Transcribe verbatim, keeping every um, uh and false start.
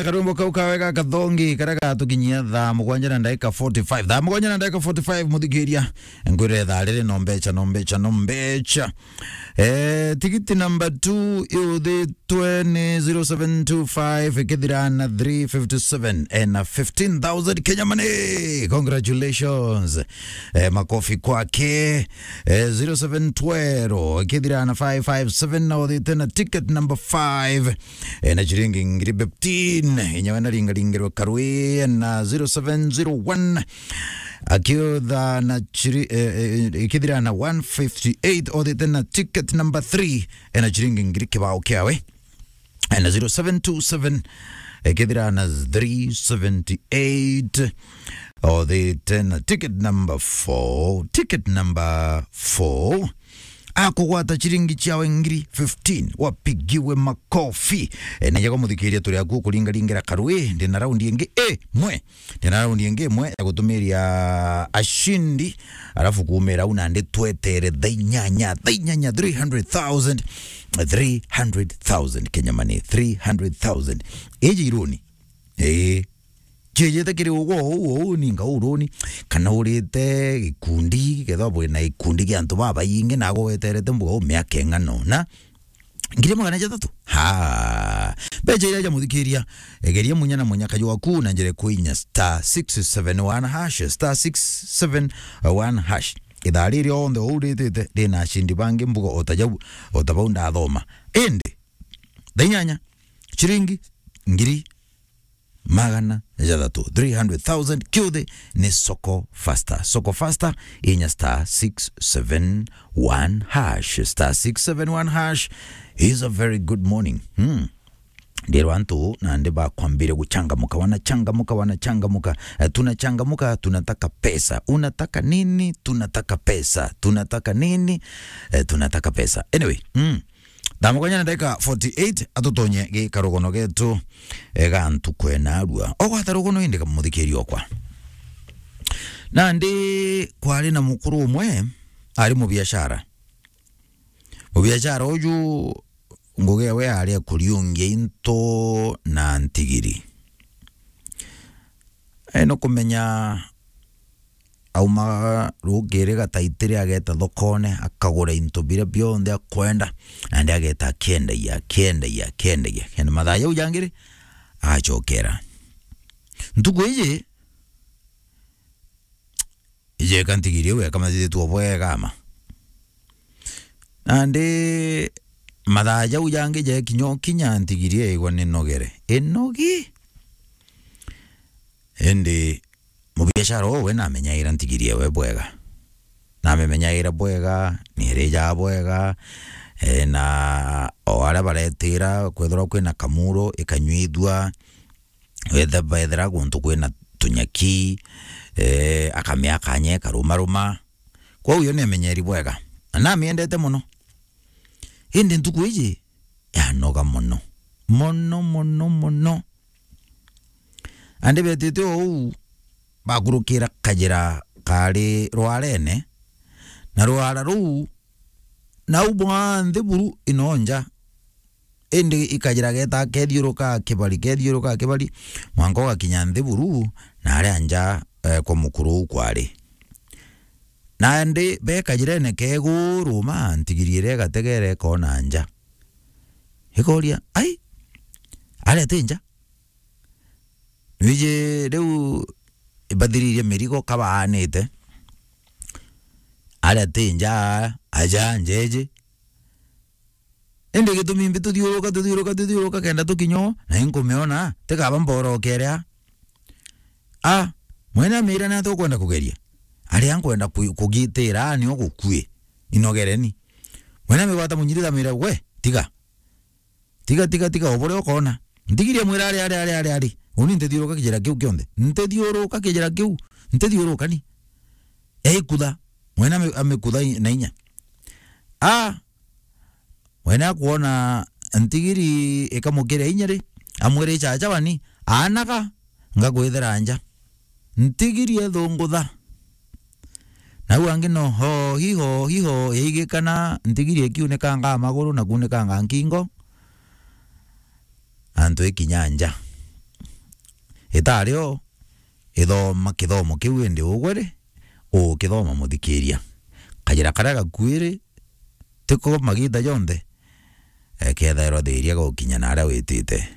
Karwimbo kau kawe ga kathongi karia gatukinyia thaa mugwanja na ndagika forty-five. Thaa mugwanja na ndagika forty-five, muthikiria. Ngwire thaa riri no mbecha, no mbecha, no mbecha. Eh, tigiti number two, iuthitwe ni zero seven two five, ikithira na three fifty-seven, ena fifteen thousand Kenya money. Congratulations. Eh, makofi kwake. Eh, zero seven twelve, ikithira na five five seven, na uthite na ticket number five. Eh, na ciringi ngiri fifteen, inya we na ringaringirwe karwi na zero seven zero one. Akiutha na chiri-, eh, eh, ikithira na one fifty-eight, othite na ticket number three, eh, na chiringi ngiri kibao kiawe. Eh, na zero seven two seven, eh, ikithira na three seventy-eight, othite na ticket number four, ticket number four. Akugwata chiringi chiawe ngiri fifteen, wapigiwe makofi. Eh, na yego muthikiria turi aku kuringaringira karwi, ndina raundi ingi imwe. Ndina raundi ingi imwe ya gutumiria ashindi, alafu kuumira au nandi twetere thaa inyanya, thaa inyanya, three hundred thousand, three hundred thousand Kenya money, three hundred thousand. Iji iruni. Ii. Ciejete kiri ugwe uu, uu ninga uruni, kana urite gikundi, kethwa bwina gikundi gia antu babaingi, nago weterete mbuga uu miaka ing'ana una. Ngiri magana jathatu? Ha. Mbecha iria ja muthikiria, egeria munya na munya kaju waku na njira kwinya star six seven one hash, star six seven one hash. Ithaa riri onthe uritite, rina ashindi bangi mbuga otajau, otabau ndathoma. Indi, thaa inyanya, chiringi ngiri magana jathatu, three hundred thousand, kiuthi ni Soko Faster. Soko Faster, inya star six seven one hash. Star six seven one hash is a very good morning. Hmm. Ndirwa antu nandi bakwambire guchangamuka, wanachangamuka, wanachangamuka. Eh, tunachangamuka, tunataka pesa. Unataka nini? Tunataka pesa. Tunataka nini? Eh, tunataka pesa. Anyway, mm. Thaa mugwanja na ndagika forty-eight, atutonye gikarugono getu, eh, ga ntuku enarua. Ogwata rugono indi, kamuthikiria okwa. Nandi kwari na mukuru umwe, ari mubiashara. Mubiashara uju, ngugi yawe yari ya kuriungia into na ntigiri. Eno kumenya, aumaga rukiri gataitiri, ageta thokone, akagura into biria bionthe akwenda, nandi ageta akiendagia, akiendagia, akiendagia. Kenda mathaa jau jangiri, agacokera. Ntuku iji, ijeka ntigiri iu ekamathithitue bwega ama. Nandi mathaa jau jangi jekinya ukinya, ntigiri eigwa ni nogere. Inogi? Indi mubiashara uu we namenyaira ntigiri ewe bwega. Namimenyaira bwega, niirijaga bwega, eh, na o aria baretira, kwethirwa kwina kamuro, ikanyuithua, wethe-, bethira guntu kwina tunyaki, eh, akamia kanya ikarumaruma. Kwou yo niamenyeri bwega. Na namiendete mono. Indi ntuku iji, yanoga mono. Mono, mono, mono. Andi betite o uu, bakurukira kajira kari rwarene, na rwara ruu, nau bwa nthi buru ino nja. Indi ikajira geta kethiuruka kibari, kethiuruka kibari, mwanka ugakinya nthi buru, na aria nja, eh, kwa mukuru uu kwari. Nandi be kajirene keguru ma, ntigiri iria igategera ikona nja. Ikoria, "Ai, aria ti nja?" Nwiji riu ibathiririe mirigo kabaanite. Aria ti nja, aja njeji. Indi gitumi mbi tuthiuruka, tuthiuruka, tuthiuruka kenda tukinya o, na inkumiona, tikaba mborokere a. A, mwene amira ni atia ukwenda kugeria? Aria nkwenda ku-, kugitira, a, nio gukui. Inogereni. Mwene amigwata munyirita amira, "We, tiga. Tiga, tiga, tiga, o buria ukona." Ntigiri amwira, "Ari, ari, ari, ari, ari. Uni ntithiuruka kijira kiu kionthe. Ntithiuruka kijira kiu. Ntithiuruka ni." Eikutha. Mwene ami-, amikutha i-, na inya. A, mwene akwona ntigiri ikamukiria inya ri, amwira, "Ichacha wani, aanaga, ngakwithira nja." Ntigiri ethungutha. Nau angi no, "Ho, hi, ho, hi, ho," yaigikana, ntigiri ikiunikanga maguru na kuunikanga nkingo. Antu ikinya nja. Itario, ithoma kithomo kiu indi ugwe ri, ukithoma muthikiria. Kajira karia gakuiri, tiko magita jonthe, eh, kethairwa thiria gukinya na aria witite.